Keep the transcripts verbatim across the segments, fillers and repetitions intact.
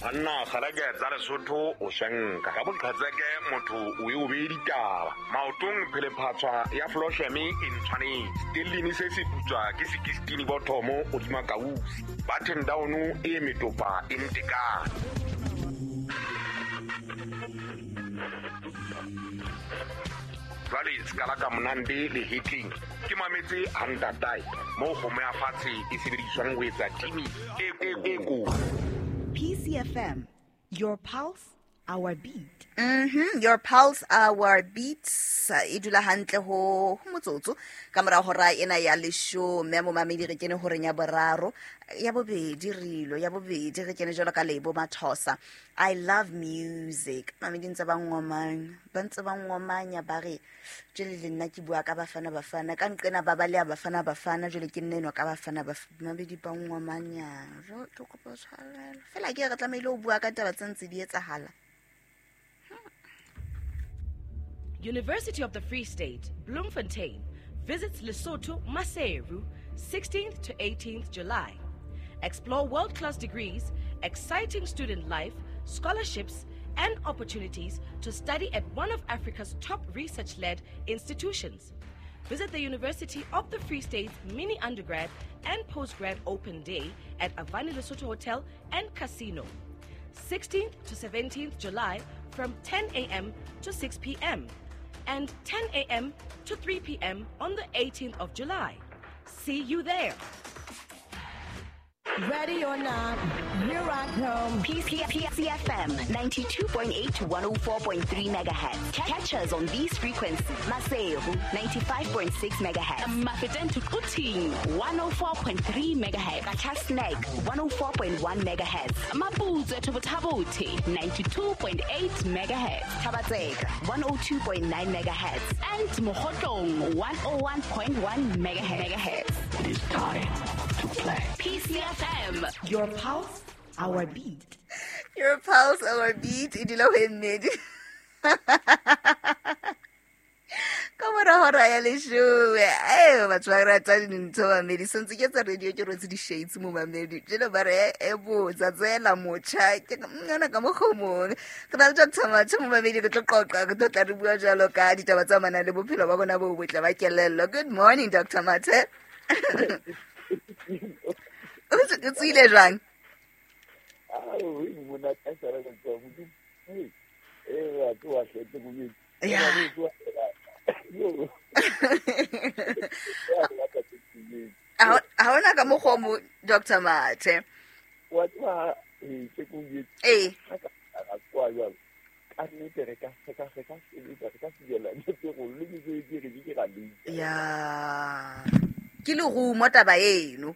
Anna kgalake tsa Lesotho o shanka ka boqhetseke motho o e o be ditaba maotong phelephatswa ya flosheme e ntshwanetse tellini se se putswa ke sekistini bothomo o dima kausi button down e metopa e ntekane jwale skala ka monande le hitling ke mametse hantatai mo kgomo ya fatshe e sebediswang ho etsa timi e e ko P C F M, your pulse, our beat. Mm-hmm. Your pulse, our beats. E dula hantle ho motsotso ka mora hora ena ya leshome mo mamedi re kene horeng ya boraro ya bobedi rilo ya bobedi re kene jalo ka Lebo Mathosa. I love music. Mamedi ntse ba ngomang ba ntse ba ngomanya ba re jele le nna ke bua ka bafana bafana ka nqena ba ba le bafana bafana jele ke nne no ka bafana ba mamedi ba ngomanya jo ke kopa tshwarelo fela ke re tlamehile o bua ka taba tse ntse di etsahala. University of the Free State, Bloemfontein, visits Lesotho, Maseru, sixteenth to eighteenth July. Explore world-class degrees, exciting student life, scholarships, and opportunities to study at one of Africa's top research-led institutions. Visit the University of the Free State's mini undergrad and postgrad open day at Avani Lesotho Hotel and Casino, sixteenth to seventeenth July from ten a.m. to six p.m. and ten a.m. to three p.m. on the eighteenth of July. See you there. Ready or not, here I come. P C F M ninety-two point eight to one oh four point three megahertz. Catch us on these frequencies. Maseru ninety-five point six megahertz. Mafeteng to Quthing one oh four point three megahertz. Qacha's Nek one oh four point one megahertz. Maputswe to Botha-Bothe ninety-two point eight megahertz. Thaba-Tseka one oh two point nine megahertz. And Mokhotlong one oh one point one megahertz. It is time to play. P C F M. Your pulse, our beat. Your pulse, our beat. E dula ho mmedi. Ka mora hora ya leshome. Eh, batho ba rata dintho mamedi. Sentse ke tsa radio ke rotse di-shades mo mamedi. Jelo ba re e botsa tsela motjha. Ke ngwana ka mokgomong. Re na le Doctor Mathe mo mamedi re tlo qoqa re tlo tla re bua jalo ka ditaba tsa manang le bophelo ba bona bo botle ba kelello. Good morning, Doctor Mathe. O tswile jwang? Ha hona ka mokgwa mo Doctor Mathe. Wa tswa e ke go Eh. Ka kwa jwalo. Ka nnete re ka re ka re ka sebetsa re ka fiela le go le ke ke re ke ga le. Ya. Ke le rumo taba eno.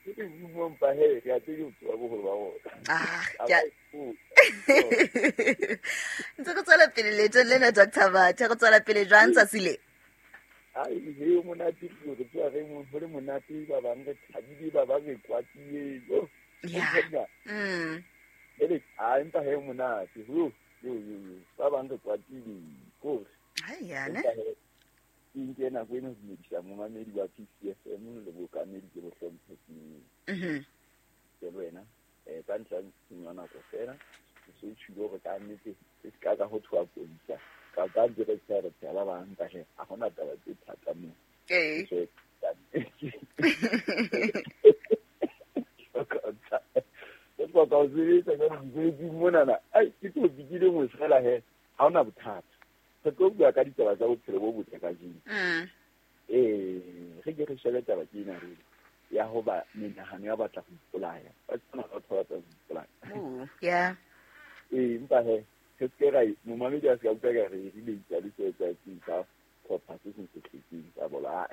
Ke rumo mpa he re a tsebe ho boholo ba rona. Ah, ya. Ntse re tswela pele leetong lena Doctor Mathe, re tswela pele jwang tsatsi le? Ai, he monate re tswa re mo ho le monate ba bang re thabile ba bang re kwatile. Ya. Mm. Ele a empa he monate. Ho yo yo yo. Ba bang re kwatile. Ko. Hai ya ne. Ke nke nako ena ho dumedisa momamedi wa P C F M le bookamedi ke bo hlomphehileng. Mhm. Ke wena eh ka ntlha ya nako fela ke so tshilo hore ka nnete se ka ka ho thwa polisa ka ka director re tsela ba bang ka he a hona taba tse thata mo. Eh. Ke tlo ka o sebetsa ka mosebetsi monana ai ke tlo bikile mo fela he ha hona bothata. Re tlo bua ka ditaba tsa bophelo bo botle kajeno. Mm. Eh, re ke re shebe taba ke ena re ya ho ba menahano ya batla ho ipolaya. Ba tsena batho ba batla ho ipolaya. Oh, yeah. Eh, empa he re se ra momamedi a se ka utlwa ka re re le itsa le se tsa tsa tlhopha se seng se tletseng tsa bola.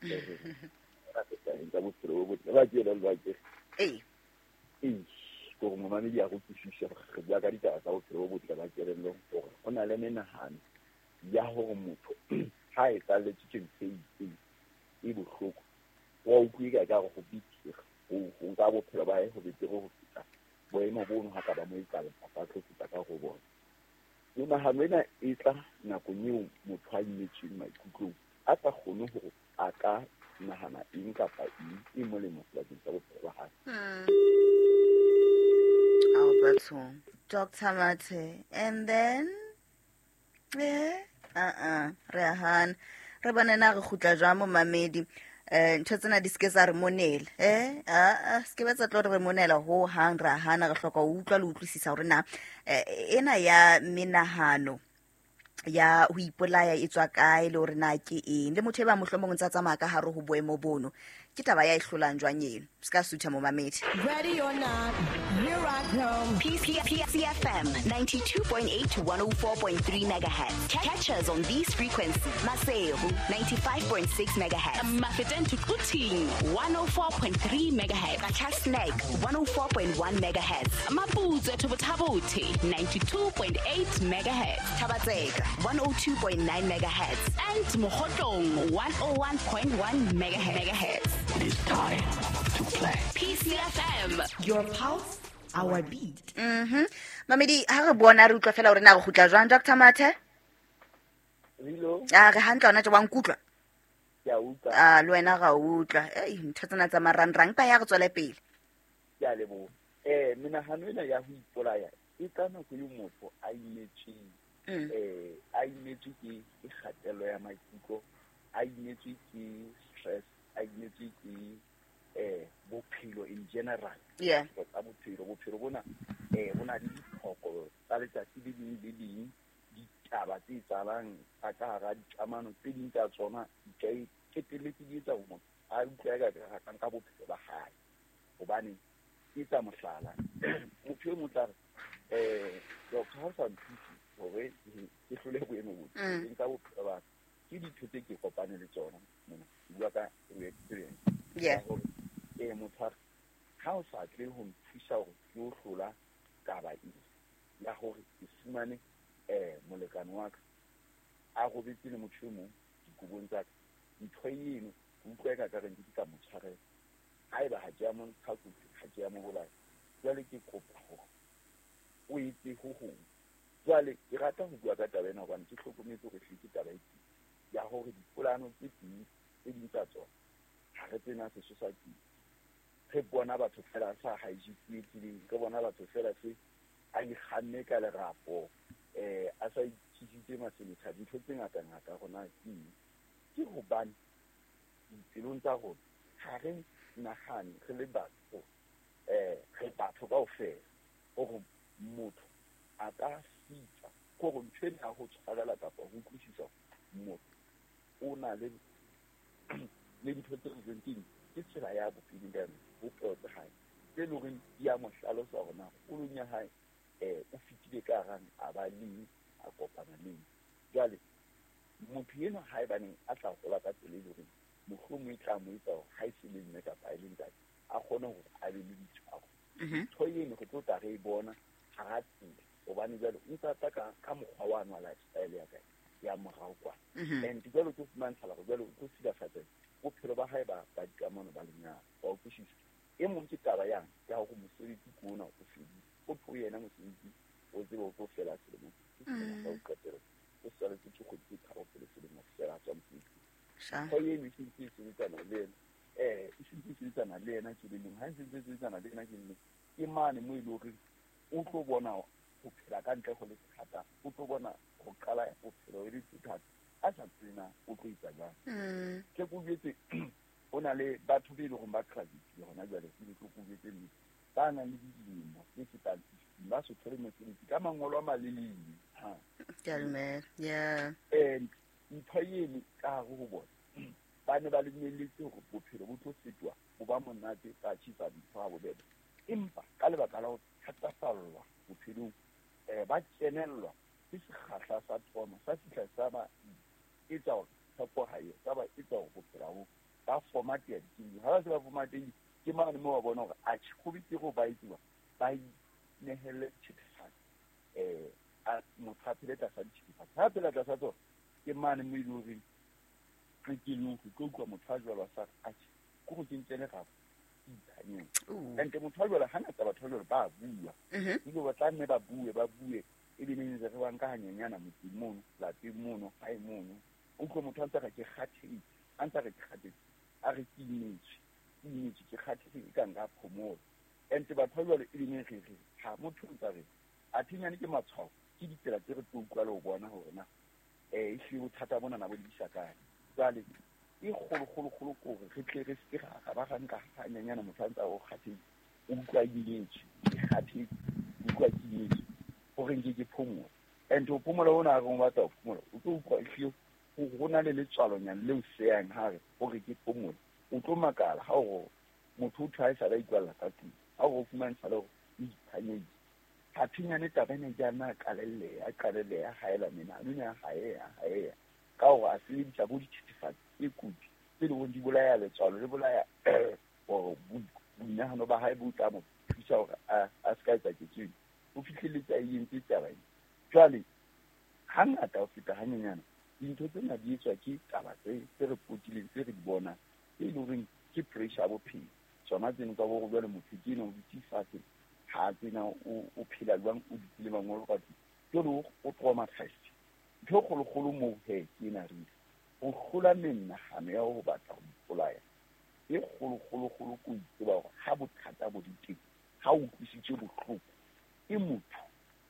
Ra se tsa tsa bophelo bo botle ba ke le ba ke. Eh. Eh, gore momamedi a go utlwisise gore re bua ka ditaba tsa bophelo bo botle ba kelello gore ho na le menahano ya hore motho ha e tsalletse ke ntho e itseng e bohloko wa utlwe ka ka go betere ho ho nka bophelo ba hae ho betere ho feta boemo bono ha ka ba mo etsala ba tlo feta ka go bona. Menahano ena e tla nakong eo motho a imetsweng maikutlong a sa kgone hore a ka nahana eng kapa eng e molemo sebakeng sa bophelo ba hae. Albert. bathong Doctor Mathe and then eh uh-uh re a hana re bone na re kgutla jwang mo mamedi eh ntho tsena di ske tsa re monela eh a ske ba tsa tlo re monela ho hang ra hana re hloka ho utlwa le utlwisisa hore na ena ya menahano ya ho ipolaya e tswa kae le hore na ke eng le motho e ba mohlomong ntsa tsamaya ka hare ho boemo bono ke taba ya e hlolang jwang eno ska sutha mo mamedi. Ready or not, here I come. P C F M ninety-two point eight to one oh four point three megahertz. Catch us on these frequencies. Maseru ninety-five point six megahertz. Mafeteng to Quthing one oh four point three megahertz. Qacha's one oh four point one megahertz. Maputsoe to Botha-Bothe ninety-two point eight megahertz. Thaba-Tseka one oh two point nine megahertz. And Mokhotlong one oh one point one megahertz. It is time to play. P C F M. Your pulse, our beat. Mhm. Mamedi ha re bona re utlwa fela hore na re kgutla jwang Doctor Mathe? Hello. Ah re hantle hona tje wa nkutlwa? Ke a utlwa. Ah le wena ga utlwa. Ei ntho tsena tsa marangrang pa ya re tswele pele. Ke a leboha. Eh menahano ena ya ho ipolaya e tla nako eo motho a imetsweng. Eh a imetswe ke kgatello ya maikutlo, a imetswe ke stress, a imetswe ke eh bophelo in general. Yeah. Tsa bophelo, bophelo bona eh bona le ditlhoko tsa letsatsi le leng le leng, ditaba tse etsahalang tsa ka hara dikamano tse ding tsa tsona di ka qetelletse di etsa hore motho a utlwe ka ka nka bophelo ba hae. Hobane ke tsa mohlala motho e mong tla re eh doctor ha o sa nthuse hore ke hlole boemo bo ke nka bophelo ba ke ditho tse ke kopane le tsona mona ke bua ka experience. Yeah. Eh motho ha o sa tle ho nthusa hore ke o hlola taba e ya hore ke fumane eh molekane wa ka a robetse le motho e mong dikobong tsa ka ntho eno ke utlwa eka ka reng ke tla mo tshwarela haeba ha ke ya mo ntsha kotsi ha ke ya mo bolaya jwale ke kopa hore o etse ho hong. Jwale ke rata ho bua ka taba ena hobane ke hlokometse hore hle ke taba e ya hore dipolano tse ding tse ding tsa tsona ha re tsena sesosa ke re bona batho fela sa hijack tseleng, re bona batho fela se a ikganne ka lerapo eh a sa itjisitse maseletha dintho tse ngata ngata rona ke ke hobane dipelong tsa rona ha re nahane re le batho eh re batho kaofela hore motho a ka sitsa kore ntho ena ya ho tshwarela kapa ho utlwisisa motho o na le le dintho tse reng ke ke tsela ya bophelo ka yona bophelo tsa hae tse leng hore di a mo hlalosa hore na kgolong ya hae eh o fetile ka harang a ba leng a kopana leng. Jwale motho enwa haebaneng a tla hola ka tsela e leng hore mohlomong e tla mo etsa hore ha e se le mme kapa e le ntate a kgone hore a be le ditshwaro. Ntho eno re tlo tla re e bona hara tsela hobane jwale o ntsa tla ka ka mokgwa wa nwa lifestyle ya kae ya morao kwana. And jwale o tlo fumantshala hore jwale o tlo silafatsa bophelo ba hae ba ba dikamano ba lenyalo wa utlwisisa. E mong ke taba yang ya hore mosebetsi ke ona o fedile o tlo yena mosebetsi o tsebe o tlo fela selemo ke selemo sa ho qetela o saletse ke kgwedi tse tharo pele selemo se fela tswa mosebetsi. Ntho eno e sentse e sebetsana le ena eh e sentse e sebetsana le ena kelellong ha e sentse e sebetsana le ena kelellong ke mane mo e le hore o tlo bona ho phela ka ntle ho le thata, o tlo bona ho qala bophelo e le thata a sa tsena o tlo etsa jwang. Ke ko jwetse ho na le batho be leng hore ba graduate hona jwale ke tlo ko jwetse nnete ba nang le dilemo tse fetang fifteen ba so thole mosebetsi ka mangolo a malelele. Ha ke a dumela. Yeah. And ntho eno ka hare ho bona ba ne ba lebelletse hore bophelo bo tlo fetoha bo ba monate ba achieve dintho ha bobebe, empa ka lebaka la ho thatafallwa bophelong eh ba kenellwa ke sekgahla sa trauma sa fihla sa ba etsa hore tshepo ha eyo, sa ba etsa hore bophelo bo ba format ya dikelello. Ha ba se ba formatehile ke mane moo wa bona hore atjhe ho betere ho ba etsiwa ba inehelle dithethefatsi eh a motho a phele tlasa dithethefatsi ha phela tlasa tsona ke mane moo e leng horeng qetellong ho tlo utlwa motho a jwalo a sa re atjhe ke hore ke nke lerapo ke iphanyeng. And motho a jwalo hangata batho ba jwalo ba bua ebile ba tla nne ba bue ba bue ebe neng re ba nka hanyenyana motseng mono lapeng mono hae mono o utlwe motho a ntse a re ke kgathetse a ntse a re ke kgathetse a re ke imetswe ke imetswe ke kgathetse e ka nka phomola. And batho ba jwalo e neng re re ha motho o ntse a re imetswe, ke kgathetse, ke utlwa ke imetswe, hore nke ke phomole. And ho phomola hona ha re o batla ho phomola, o tlo utlwa ehlile ho na le letswalonyana leo seyang hare hore ke phomole. O tlo makala ha o motho o thwe ha e sale a ikwalla ka tlung, ha o fumantsha le hore o iphanyeditse. Ha thinyane taba ena ke a na qalelleha, a qalelleha, a haela menahano ena a haeha, a haeha. Ka hore a sebedisa bo dithethefatsi tse kotsi tse leng hore di bolaya letswalo, le bolaya hore boinahano ba hae bo tla mo thusa hore a a se ka etsa ketso eno. O fihlelletse a e entse taba ena. Jwale hangata ho feta hanyenyana dintho tsena di etswa ke taba tse tse re potileng, tse re di bonang, tse leng horeng ke pressure ya bophelo. Tsona tseno tsa hore jwale motho ke ena o dutse fatshe, ha tsena o o phela jwang, o dutse le mangolo ka tlung. Jwale o traumatized. Ntho e kgolokgolo moo he ke ena re ho hlola menahano ya ho batla ho ipolaya. E kgolokgolokgolo ke ho itseba hore ha bothata bo le teng, ha o utlwisitswe bohloko ke motho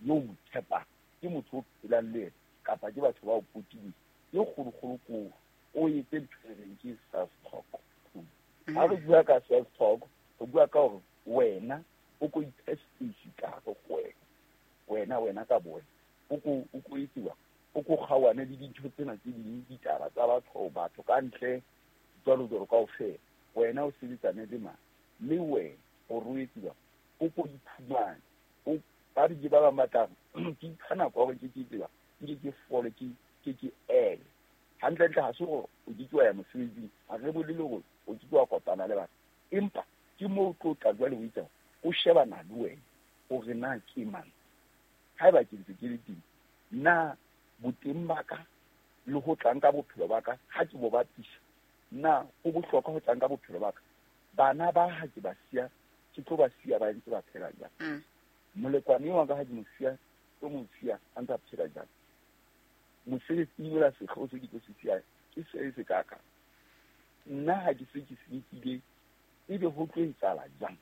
yo o mo tshepang, ke motho o phelang le yena, kapa ke batho ba o potileng. E kgolokgolo ke hore o etse ntho e reng ke self talk. Ha re bua ka self talk, re bua ka hore wena o ko iphe space ka hare ho wena. Wena, wena ka bo wena. O ko, o ko etsiwa, o ko kgaohane le dintho tsena tse ding, ditaba tsa batho, batho ka ntle, jwalo jwalo kaofela. Wena o sebetsane le mang? Le wena hore o etsiwa, o ko iphumane. O ba re ke ba bang ba tla re, ke ipha nako ya hore ke ke tseba, nke ke fole, ke, ke ke ele. Hantlentle ha se hore o ke ke wa ya mosebetsing, ha re bolele hore o ke ke wa kopana le batho. Empa ke moo o tlo tla jwale o itse, o shebana le wena hore na ke mang. Haeba ke ntse ke le teng, na boteng ba ka le ho tlang ka bophelo ba ka, ha ke bo bapisa, na ho bohlokwa ho tlang ka bophelo ba ka? Bana ba ha ke ba siya, ke tlo ba siya ba ntse ba phela jwang? Mm. Molekwane wa ka ha ke mo siya, tlo mo siya a ntse a phela jwang? Mosebetsing ola sehlooho se ke tlo se siya ke se se ka ka. Nna ha ke se ke se nkile, ebe ho tlo etsahala jwang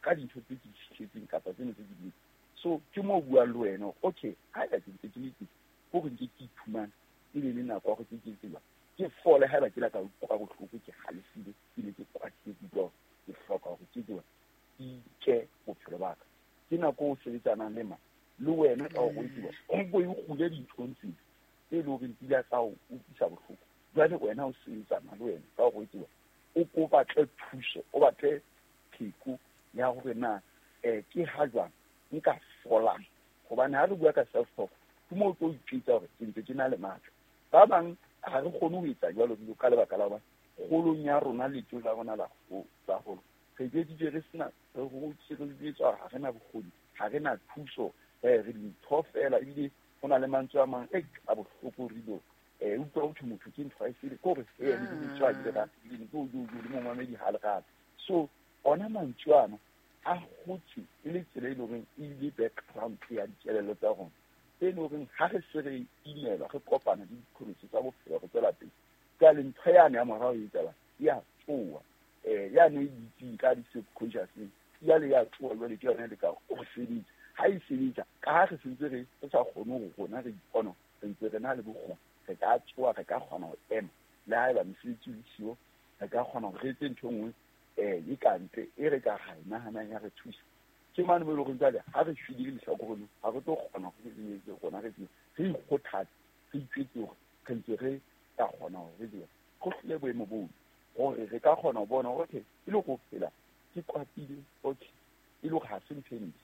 ka dintho tse ke di fihletseng kapa tseno tse ke di entseng? So ke moo o buang le wena hore okay, haeba ke ntse ke le teng, hore nke ke iphumane, e be le nako ya hore ke ke tseba, ke fole haeba ke la ka utlwa bohloko, ke halefile, ke ne ke kwatile, ke utlwa hore ke hloka hore ke tseba, ke ike bophelo ba ka. Ke nako o sebetsanang le mang? Le wena ka hore o tseba, o nko e kgule dinthong tsena tse leng hore di ile tsa o utlwisa bohloko. Jwale wena o sebetsana le wena ka hore o tseba, o ko batle thuso, o batle pheko ya hore na eh ke ha jwang nka folang. Hobane ha re bua ka self talk, ke moo o tlo ipitsa hore ke ntse ke na le matla. Ba bang ha re kgone ho etsa jwalo ka lebaka la hobane kgolong ya rona, letso la rona la ho la holo, re jwetsitswe re sena, re hotse re jwetswa ha re na bokgoni, ha re na thuso, eh re dintho fela. Ebile ho na le mantswe a mang e a bohloko re dilo, eh utlwa ho thwe motho ke ntho e sele, ke hore eh le dintho a di rate, ebile ke o jo jo le momamedi ha le rate. So ona mantswe ana a hotse e le tsela e leng hore e ile background ya dikelello tsa rona, e leng hore ha re se re imelwa, re kopana le diqholotso tsa bophelo, re tswela pele. Jwale ntho yane ya morao e etsahala, e a tsoha. Eh, yane e dutseng ka di-subconscious, jwale ya tsoha, jwale ke yona e lekang ho sebetsa. Ha e sebetsa, ka ha re sentse re re sa kgone hore rona re ipona, re ntse re na le bokgoni, re ka tsoha, re ka kgona ho ema. Le haeba mosebetsi o le siyo, re ka kgona hore re etse ntho e nngwe, eh, e ka ntle, e re ka ra e nahanang ya re thusa. Ke mane mo e leng hore jwale ha re shwele lehlakoreng, ha re tlo kgona hore re etse rona re tsebe, re ikgothatse, re itjwetse hore re ntse re ka kgona hore re tsebe. Go hlile boemo boo hore re ka kgona ho bona hore okay, e le ho phela ke kwatile, okay, e le hore ha se ntho e ntle.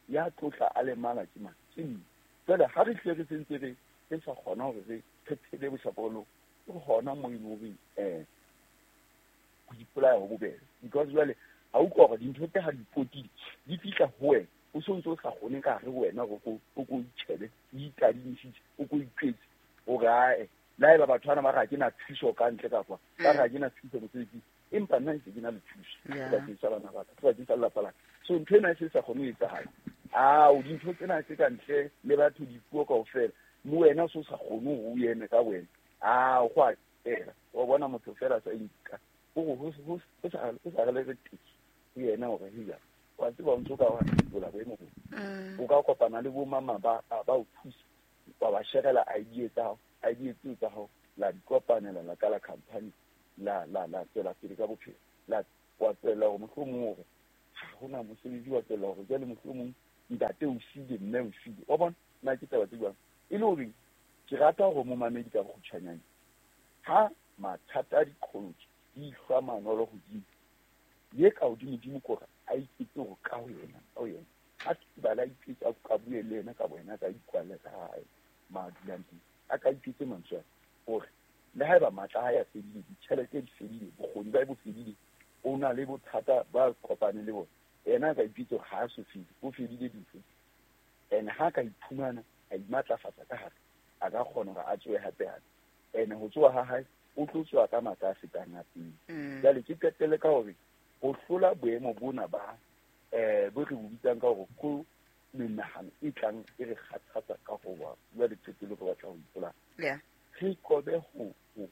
Ya tlotla a lemala ke mang? Ke nna. Jwale ha re hlile re sentse re, re sa kgona hore re, re phele bohlakoreng, ke hona moo e leng hore, eh, ho ipolaya ho bobebe. Because jwale ha utlwa hore dintho tse ha di potile, di fihla ho wena, o so ntse o sa kgone ka hare ho wena hore o ko, o ko itjhebe, o itadimisitse, o ko itjwetse hore ae, le haeba batho bana ba re ha ke na thuso ka ntle ka kwa, ba re ha ke na thuso mosebetsing, empa nna ntse ke na le thuso Yeah. sebakeng sa bana ba ka, sebakeng sa lelapa la ka. So ntho ena e se sa kgone ho etsahala. Ao, dintho tsena tse ka ntle le batho dipuo kaofela, le wena o so sa kgone hore o eme ka wena. Ao, go a fela. Wa bona motho fela a sa inka. O re ho, ho, ho sa, ho sa re le re teki ho yena hore heya, wa tseba o ntso ka wa fetola boemo bo. Mm. O ka kopana le bo mama ba, ba, ba o thusa, wa ba sherela idea tsa hao, idea tseo tsa hao, la di kopanela, la qala company, la, la, la tswela pele ka bophelo, la, wa tswella hore mohlomong hore Ha hona mosebetsi wa tsela hore jwale mohlomong ntate o siile mme o siile. Wa bona nna ke taba tse jwang. E le hore ke rata hore momamedi ka bokgutshwanyane ha mathata a diqholotso di hlwa manolo hodimo ye ka hodimodimo ke hore a iketse hore ka ho yena ka ho yena a bala iketse a ka bue le yena ka boyena ka ikwalle ka hae ma dulang teng a ka iketse mantswe hore le haeba matla a hae a fedile, ditjhelete di fedile, bokgoni ba bo fedile, o na le bothata ba kopane le bona, yena a ka ipitsa hore ha a so fele, o fedile dintho. And ha ka iphumana a imatlafatsa ka hare, a ka kgona hore a tsohe hape hape. And ho tsoha ha hae o tlo tsoha ka matla a fetang a pele. Jwale ke qetelle ka hore ho hlola boemo bona ba eh bo re bo bitsang ka hore ko menahano e tlang e re kgathatsa ka ho ba jwale qetelo re batla ho ipolaya. Yeah. Re qobe ho ho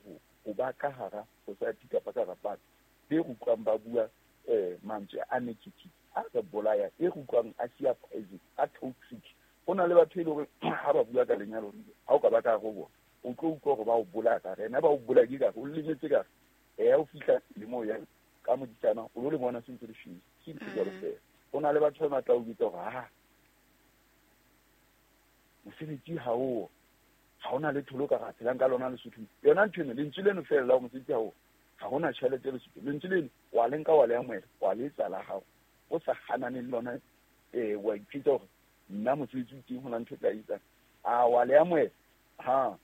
ho ba ka hara society kapa ka hara batho be re utlwang ba bua eh mantswe a negative a re bolaya, e re utlwang a siya poison, a toxic. Ho na le batho e le hore ha ba bua ka lenyalo ha o ka ba ka hare ho bona o tlo utlwa hore ba o bolaya ka hare, ene ba o bolaya ke ka o lemetse ka hare. Eh o fihla le moo ya ka modisana o lo le bona se ntse le shwele, ke ntho jwalo feela. Ho na le batho ba matla o bitsa hore ha mosebetsi ha o ha hona letho lo ka ra phelang ka lona Lesotho. Yona ntho eno lentswe leno feela la mosebetsi ha o ha hona tjhelete Lesotho, lentswe leno wa le nka wa le amohela wa le etsa la hao o sa hanane le lona eh wa ipitsa hore nna mosebetsi o teng hona ntho e tla etsang a wa le amohela ha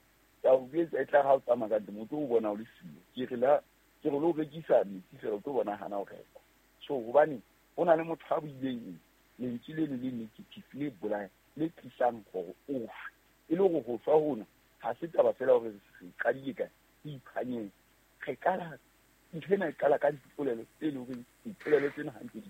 ya o etsa e tla ha o tsamaya ka ntle motho o bona o le siyo. Ke re la ke re lo rekisa metsi fela o tlo bona hana o reka. So hobane ho na le motho a buileng lentswe leno le negative le bolaya le tlisang hore o shwe. E le hore ho shwa hona ha se taba fela hore re qadile kae, re iphanyeng. Re qala ntho ena e qala ka dipolelo tse leng hore dipolelo tsena ha ntse di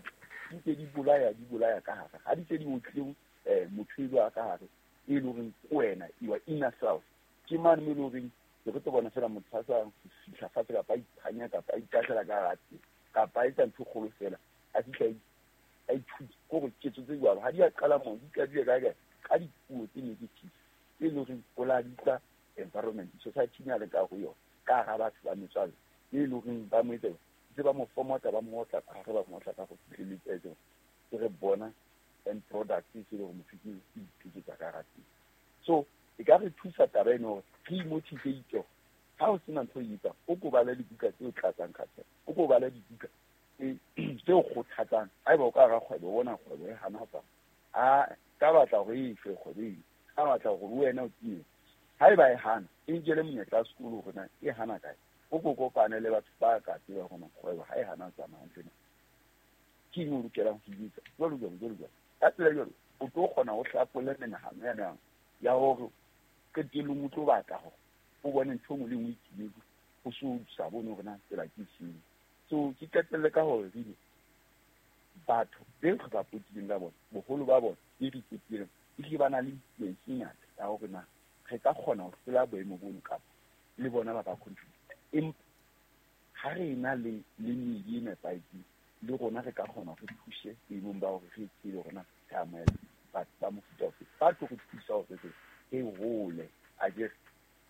di ntse di bolaya di bolaya ka hare ha di se di otlile eh motho elo a ka hare e leng hore ke wena your inner self. Ke mane mo e leng horeng re tlo bona fela motho a sa fihla fatshe kapa a iphanya kapa a itahlela ka hara tsela kapa a etsa ntho e kgolo fela a fihla a ithuta kore ketso tse jwalo ha di a qala moo di qadile kae kae ka dipuo tse negative tse leng hore o la di utlwa environment society ya le ka ho yona ka hara batho ba metswalle e leng hore ba mo etsa ntse ba mo fomota ba mo otla ka hare ba mo otla ka go fihleletse etse ke re bona end product e se le hore motho ke iphetsa ka hara teng. So e ka re thusa taba eno hore re imotivate ha o sena ntho e etsang o ko bale dibuka tse o tlatsang kgathalo, o ko bale dibuka tse o kgothatsang. Haeba o ka hara kgwebo o bona kgwebo e hana ho tsamaya, a ka batla hore e shwe kgwebo eno, ka batla hore wena o tiye. Haeba e hana e nkele monyetla wa sekolo hore na e hana kae, o ko kopane le batho ba ka tseba hore kgwebo ha e hana ho tsamaya hantle na ke eng o lokelang ho e etsa jwalo jwalo jwalo jwalo. Ka tsela e jwalo o tlo kgona ho hlapolla menahano ya ya hore qetellong o tlo batla hore o bone ntho e nngwe le e nngwe e timetse, o so sa bone hore na tsela ke efeng. So ke qetelle ka hore re batho be re ba potileng ka bona boholo ba bona e re ketileng ehlile ba na le influence e ngata ya hore na re ka kgona ho hlola boemo bono kapa le bona ba ka contribute. Empa ha re na le le meedi e nepahetseng le rona re ka kgona re thuse boemong ba hore re tsebe hore na re amohela batho ba mofuta ofe ba tlo re thusa hore re hole akere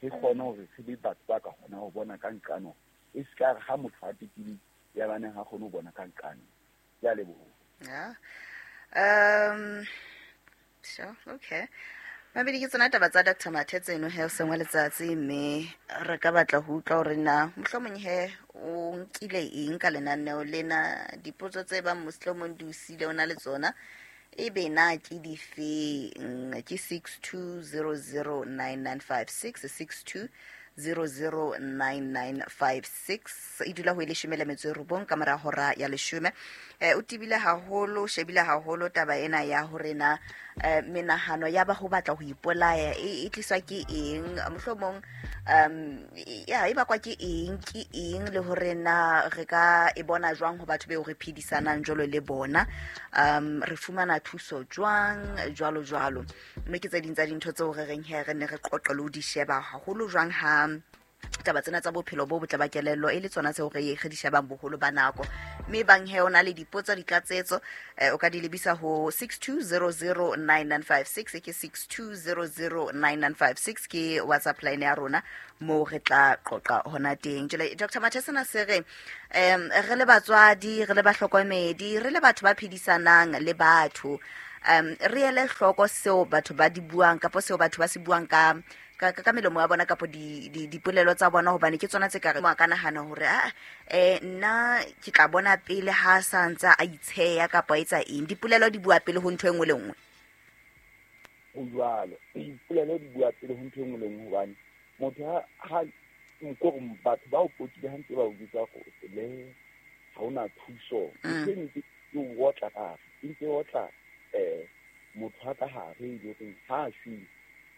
re kgone hore re be batho ba ka kgona ho bona ka nqano e se ka re ha motho a tekile ya baneng ha kgone ho bona ka nqano. Ke a leboha. Yeah. Um sure, okay. Mabedi ke tsona taba tsa Doctor Mathe tseno he o sengwe letsatsi mme re ka batla ho utlwa hore na mohlomong he o nkile eng ka lenaneo lena, dipotso tse bang mohlomong di o siile o na le tsona ebe na ke difeng. Ke six two zero zero nine nine five six six two zero zero nine nine five six e dula ho e leshome le metso e robong ka mora hora ya leshome. Eh o tibile haholo, o shebile haholo taba ena ya hore na eh, menahano ya ba ho batla ho ipolaya e e tliswa ke eng, mohlomong um ya e bakwa ke eng, ke eng le hore na re ka e bona jwang ho batho beo re phedisanang jwalo le bona, um re fumana thuso jwang jwalo jwalo. Mme ke tse ding tsa dintho tseo re reng he re ne re qoqe le ho di sheba haholo jwang ha Taba tsena tsa bophelo bo botle ba kelello e le tsona tseo re re di shebang boholo ba nako. Mme bang he o na le dipotso ditlatsetso o ka di lebisa ho six two zero zero nine nine five six ke six two zero zero nine nine five six ke WhatsApp line ya rona mo re tla qoqa hona teng. Jwale Doctor Mathesana se re em re le batswadi, re le bahlokomedi, re le batho ba phedisanang le batho, um re ele hloko seo batho ba di buang kapa seo batho ba se buang ka ka ka melomo ya bona kapa di dipolelo tsa bona, hobane ke tsona tse ka re mo ka nahana hore a eh nna ke tla bona pele ha sa ntsa a itsheya kapa etsa eng. Dipolelo di bua pele ho ntho e nngwe le nngwe. Ho jwalo, dipolelo di bua pele ho ntho e nngwe le nngwe, hobane motho ha ha nko batho ba o potile ha ntse ba o bitsa go le ha ona thuso, ntho e ntse e o otla ka e ntse otla eh motho ha ka hare e le hore ha shwe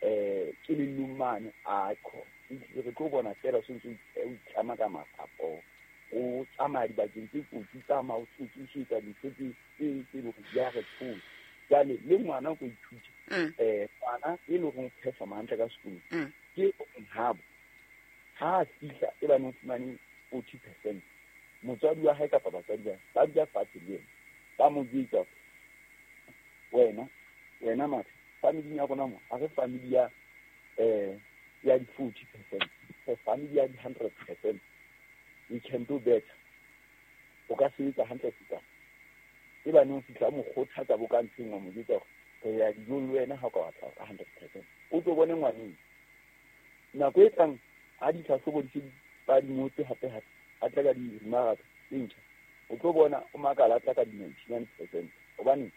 eh ke le lumane a kho re tlo bona fela se ntse o itlama ka masapo o tsamaya dibakeng tse kotsi, tsamaya o tsotsi dintho tse tse tse le hore di a re tshosa. Jwale le ngwana o ko ithuta eh ngwana e le hore o performa hantle ka sekolong ke habo ha fihla e ba no fumane forty percent, motswadi wa hae kapa batswadi ba ba dula fatshe le yena ba mo jwetsa wena wena mathe family ya rona mo a re family ya eh ya di forty percent, for family ya di hundred percent, we can do better. O ka sebetsa hantle feta e ba no fihla mo kgothatsa bo ka ntlheng wa mo jwetsa hore re ya dijong le wena ha o ka batla ka hundred percent, o tlo bone ngwaneng nako e tlang ha ditlhahlobo di se ba di ngotse hape hape a tla ka di-remark tse ntjha, o tlo bona o makala a tla ka di-ninety-nine percent, hobane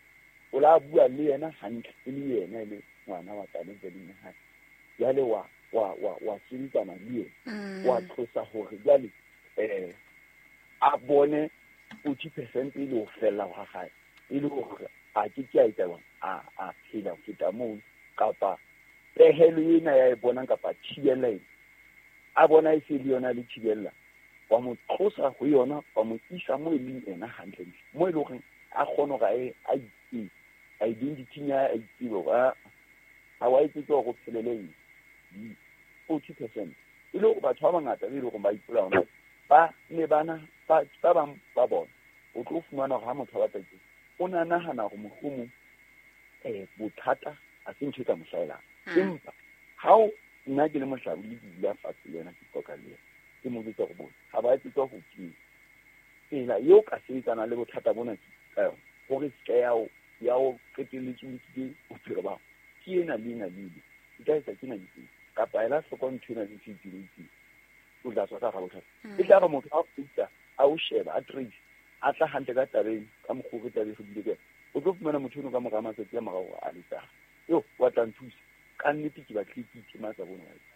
o la bua le yena hantle e le yena e le ngwana wa talente le hae. Jwale wa wa wa wa sebetsana le yena, wa tlosa hore jwale eh a bone forty percent e le ho fella ha hae, e le hore a ke ke a etsa a a phela ho feta moo, kapa pehelo ena ya e bonang kapa thibela ena a bona e se le yona le thibela, wa mo tlosa ho yona wa mo isa mo e leng ena hantle mo e le hore a kgone hore a itse identity ya a itsebe hore ha wa etsetse hore o phelele eng forty percent. E le hore batho ba bangata be e le hore ba ipolaya hona ba ne bana ba ba bang ba bona o tlo fumana hore ha motho a batla teng o na nahana hore mohlomong eh bothata a se ntho e ka mo hlahelang, empa ha o nna ke le mohlabodi ke dula fatshe le yena ke qoqa le yena ke mo jwetsa hore bona ha ba etsetswa ho tjena tsela eo ka sebetsana le bothata bona ke ka yona hore se ka ya o ya o qetelletse o nkile bophelo ba hao ke ena le ena le ena e ka etsa ke na le tsena kapa ela hloko ntho ena le ntho e itseng o tla tswa ka hara bothata. E tla re motho a fihla a o sheba a trace a tla hantle ka tabeng ka mokgwa o re tlabe re bile ka o tlo fumana motho eno ka mora matsatsi a morao a letsa yo wa tla nthusa ka nnete ke batlile ke itematsa bona wa etsa.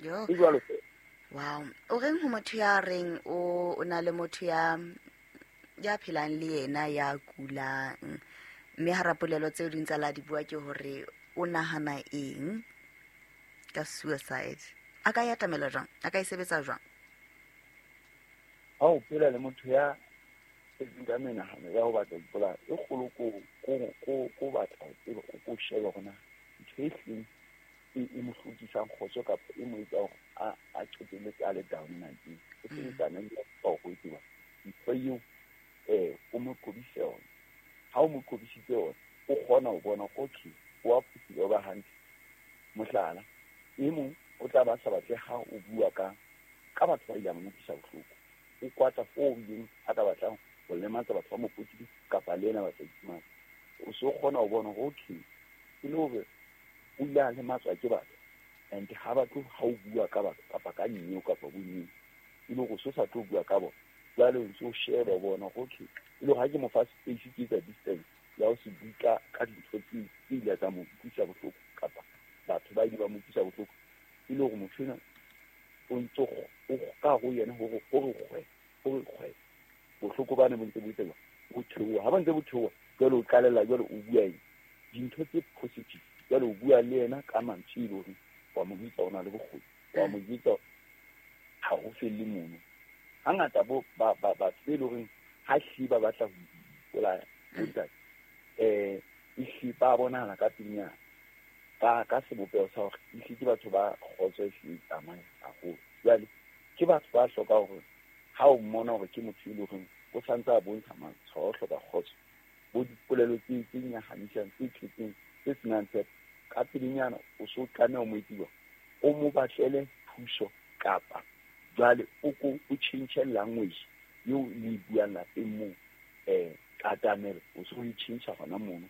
Yo. E jwalo fela. Wow. O reng ho motho ya reng o o na le motho ya ya phelang le yena ya kulang, mme hara polelo tseo di ntse la di bua ke hore o nahana eng ka suicide, a ka ya tamela jwang, a ka e sebetsa jwang? Ha o phela le motho ya etseng ka menahano ya ho batla ho ipolaya e kgolo ko ko ko ko batla ho tseba o ko shebe hore na ntho e hleng e mo hlokisang kgotso kapa e mo etsa hore a a qetelletse a le down na ke o sebetsana le ho ho tseba ntho eo eh o mo qobise yona. Ha o mo qobisitse yona o kgona ho bona okay o a phutile o ba hantle. Mohlala e mong o tla ba sa batle ha o bua ka ka batho ba ileng ba mo utlwisa bohloko, o kwata foo ileng a ka batlang ho lematsa batho ba mo potile kapa le yena ba sa itimana. O so kgona ho bona hore okay e le hore o ile a lematswa ke batho and ha batho ha o bua ka batho kapa ka nyeo kapa bonyeo e le hore o so sa tlo bua ka bona. Jwale o ntso sheba bona okay e le hore ha ke mo fa space ke etsa distance ya ho se bue ka ka dintho tse tse ile tsa mo utlwisa bohloko kapa batho ba ile ba mo utlwisa bohloko, e le hore motho ena o ntso o ka ho yena hore hore kgwe hore kgwe bohloko bana bo ntse bo tseba bo theoha. Ha ba ntse bo theoha jwale o qalella jwale o bua eng dintho tse positive, jwale o bua le yena ka mantswe e le hore wa mo jwetsa o na le bokgoni, wa mo jwetsa ha ho felle mono. Hangata bo ba ba batho be le horeng ha hlile ba batla ho ipolaya bontate eh e hlile ba bonahala ka pelenyana. Ka ka sebopeho sa hore ehlile ke batho ba kgotso e hlile tsamayang haholo. Jwale ke batho ba hloka hore ha o mmona hore ke motho e leng hore o santse a bontsha matshwao a ho hloka kgotso, bo dipolelo tse tse nyahamisang, tse tletseng, tse senang tshepo, ka pelenyana o so tlameha o mo etse o mo batlele thuso kapa jwale o ko o tjhentjhe language eo le e buang lapeng moo, eh katamelo o so e tjhentjha hona mono.